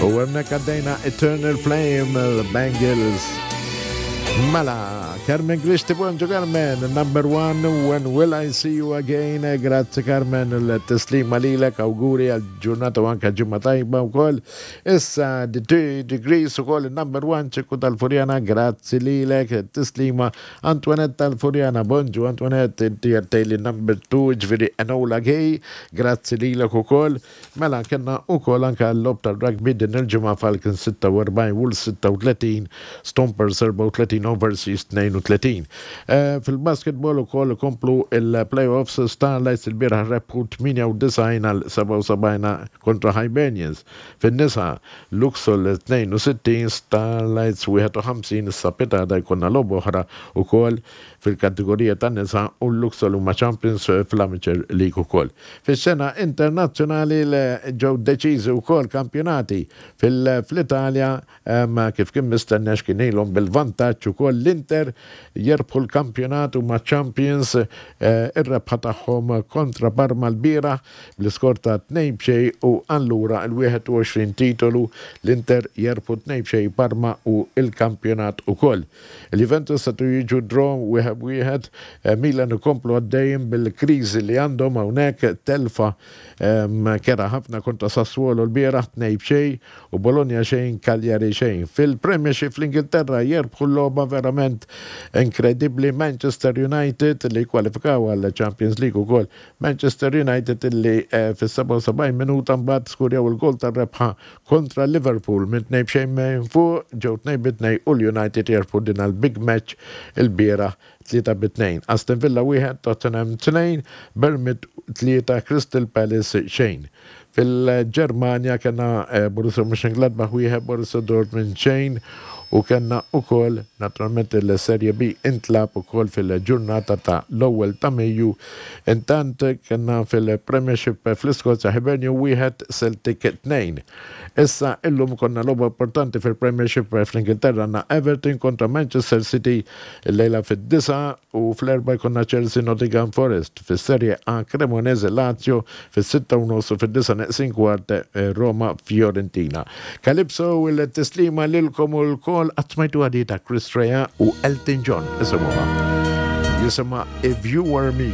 U hemmhekk għaddejna Eternal Flame, l-Bangles. Mela, Carmen Christi, bonġu Carmen, number one, when will I see you again? Grazzi Carmen, l-tislima lilek, auguri għal-ġurnata u anka ġimma tajba u koll. Issa, the two degrees u koll, number one, ċekku tal-Furjana, grazzi lilek, tislima Antoinette tal-Furjana, bonġu Antoinette, inti għattejli number two, ġviri Enola Gay, grazzi lilek u koll. Mela kellna ukoll anke l-logħob tar-rugby din il-ġimgħa Falcons 46, Wolves 36, Stompers 34, Overseas 32. Fil-basketball ukoll ikomplu l-play-offs Starlights ilbieraħ rebħu 98 għal 77 kontra Hibernians. Fin-nisa Luxol 62, Starlights 51 issa pitgħada jkollna logħba oħra ukoll fil-kategorija tan-nisa u l-Luxol huma champions fl-Amateur League ukoll. Fix-xena internazzjonali ġew deċiżi wkoll kampjonati fl-Italja kif kien mistenni għax kien ilhom bil-vantaġġ ukoll l-Inter jirbħu l-kampjonat huma champions ir-rebħa tagħhom kontra Parma lbieraħ bl-iskor ta' 2-0 u allura l-21 titolu l-Inter jerbħu 2-0 Parma u l-kampjonat ukoll. Il-Juventus setgħu jiġu draw wieħed b'wieħed, Milan ikomplu għaddejjin bil-kriżi li għandhom hawnhekk, telfa kerha ħafna kontra Sassuolo lbieraħ 2-0 u Bologna xejn Cagliari xejn. Fil-Premiership fl-Ingilterra jerbħu l-logħba verament inkredibbli Manchester United li kkwalifikaw għall-Champions League ukoll. Manchester United illi fis-77 minuta mbagħad skurjaw il-goal tar-rebħa Kontra Liverpool minn 2 b'xejn minn fuq, ġew 2 bi 2 u l-United jerbħu din għall-big match ilbieraħ 3 bi 2. Aston Villa 1, Tottenham 2, Bournemouth 3, Crystal Palace xejn. Fil-Ġermanja kellna Borussia Mönchengladbach 1, Borussia Dortmund xejn u kellna ukoll naturalment il-Serie B intlagħab ukoll fil-ġurnata ta' l-ewwel ta' Mejju. Intant kellna fil-Premiership fl-Iskozja Hibernian wieħed Celtic tnejn. Issa illum ikollna logħba importanti fil-Premiership fl-Ingilterra għandna Everton kontra Manchester City illejla fid-disgħa u fl-erbgħa jkollna Chelsea Nottingham Forest. Fis-Serie A Cremonese Lazio fis-sitta u nofs u fid-disgħa neqsin kwart Roma Fiorentina. Calypso il-tislima lilkom u lkoll qatt smajtuha di ta' Chris Rea u Elton John isimgħuha. Jisimha If You Were Me.